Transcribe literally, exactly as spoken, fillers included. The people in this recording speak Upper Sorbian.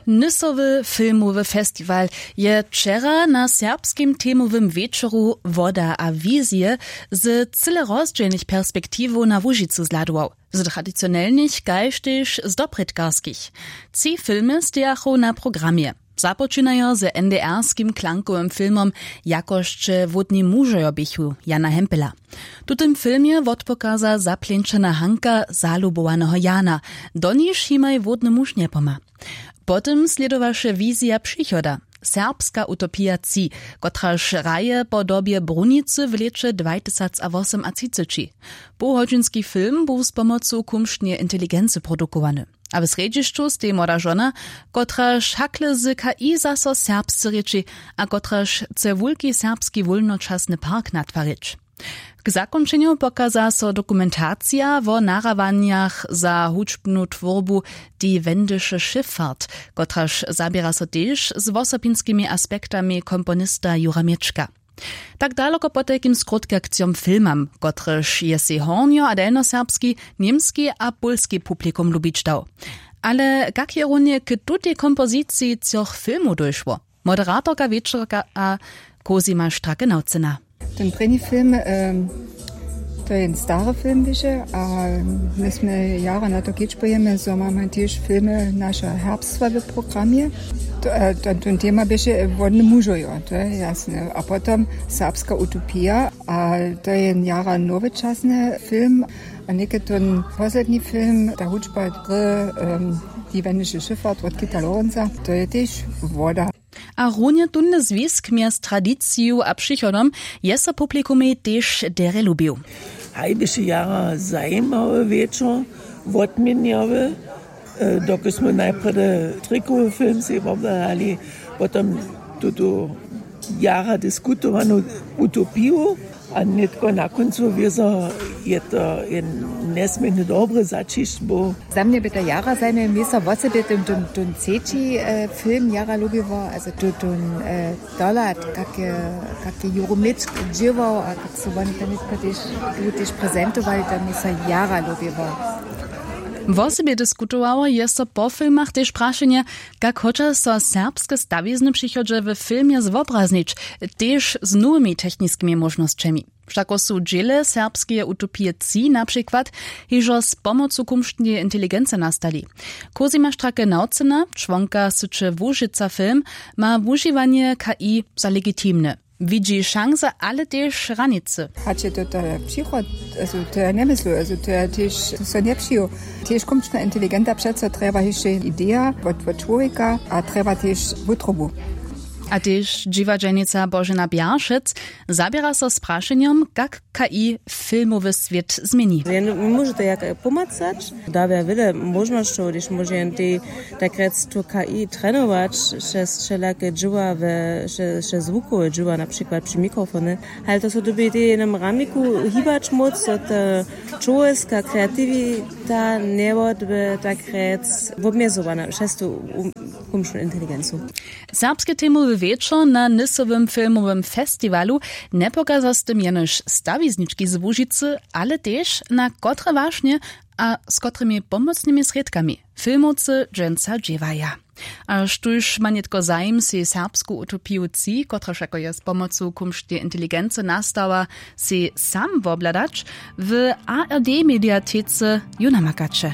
Nysowy filmowy festiwal je wčera na serbskim temowym wječoru Woda a wizije z cyle rozdźělnych perspektiwow na Łužicu zhladował, z tradicionelnych kaž tež z doprědkarskich. Tři filmy stejachu na programje. Započinajo z NDR-skim klankowym filmom Jako sće hłódni mužojo běchu Jana Hempela. W tutym filmje wotpokaza zapleńčena Hanka zalubowaneho Jana, doniž jimaj hłódny muž njepomha. Potom slědowaše wizija přichoda, serbska utopija tři, kotraž hraje po dobje brunicy w lěće dwajtysacawosomtřiceći. Połhodźinski film bu z pomocu kumšneje inteligency produkowany, a w srjedźišću steji młoda žona, kotraž hakle z K I zaso serbsce rěči a kotraž chce wulki serbski wólnočasny park natwarić. K zakónčenju pokaza so dokumentacija wo nahrawanjach za hudźbnu twórbu Die wendische Schifffahrt, kotraž zaběra so tež z wosobinskimi aspektami komponista Jura Měčka. Tak daloko potajkim skrótkakcijom filmam, kotryž je sej hornjo a delnjoserbski, němski a pólski publikum lubić dał. Ale kak je runje k tutej kompoziciji třoch filmow dóšło? Moderatorka wječorka a Cosima Stracke-Naucena. Ten prěni film, to je jen stary film wyše a my smy jara na to kedźbujemy, zo mamy tež filmy naša herbstwa w programje. Ten tema běše wodne mužojo, to je jasne, a potom serbska utopija, a to je jen jara nowečasny film. A něke ten posledni film, ta hudźba dry, die wendische Schifffahrt wot Kita Lorenza, to je tež woda. A runje tónle zwisk mjez tradiciju a přichodom je so publikumej tež derje lubił. Haj běše jara zajimawy wječor, wotměnjawy. Dokelž smy najprjedy trikowy film sej wobhladali, potom tutu jara diskutowanu utopiju, a nětko na kóncu wězo je to jen njesměrnje dobry zaćišć był. Za mnje by to jara zajimawy město wosebje tón třeći film jara lubiło, a to tón dohlad, kak je juromic dźěłał a kak su woni to nětko tež prezentowali, to město jara lubiło. Wosebje diskutowało je so po filmach tež prašenje, kak hodźa so serbske stawizny w přichodźe w filmje zwobraznić, tež z nowymi techniskimi móžnosćemi. Wšako su dźěle serbskeje utopije tři na přikład hižo z pomocu kumšneje inteligency nastali. Cosima Stracke-Naucena, čłonka syće Łužica Film, ma wužiwanje K I za legitimne. Widźi šansy, ale tež hranicy. Hač je to to přichod, to ja njemyslu, to ja tež so njepřijił. Tež kumčna inteligenta přeco trjeba hišće ideja wot čłowjeka a trjeba tež wutrobu. A tež dźiwadźelnica Božena Bjaršec zaběra so z prašenjom, kak K I filmowy swět změni. Móže to jak pomacać, dawja wjele móžnosćow, hdyž móže jen tej tak rjec tu K I trenować přez wšelake dźěła, přez zwukowe dźěła, na přikład při mikrofony. Ale to so dyrbi tej w jenym ramiku hibać móc, zo ta čłowječka kreatiwita njewotby tak rjec wobmjezowana přez tu kumšnu inteligencu. Serbske temowy wječor na nysowym filmowym festiwalu njepokaza z tym jenož stawiznički z Łužicy, ale tež na kotre wašnje a z kotrymi pomocnymi srědkami filmowcy dźensa dźěłaja. A štóž ma nětko zajim, sej serbsku utopiju tři, kotraž jako je z pomocu kumšneje inteligency nastała, sej sam wobhladać, w A R D mediatece ju namakaće.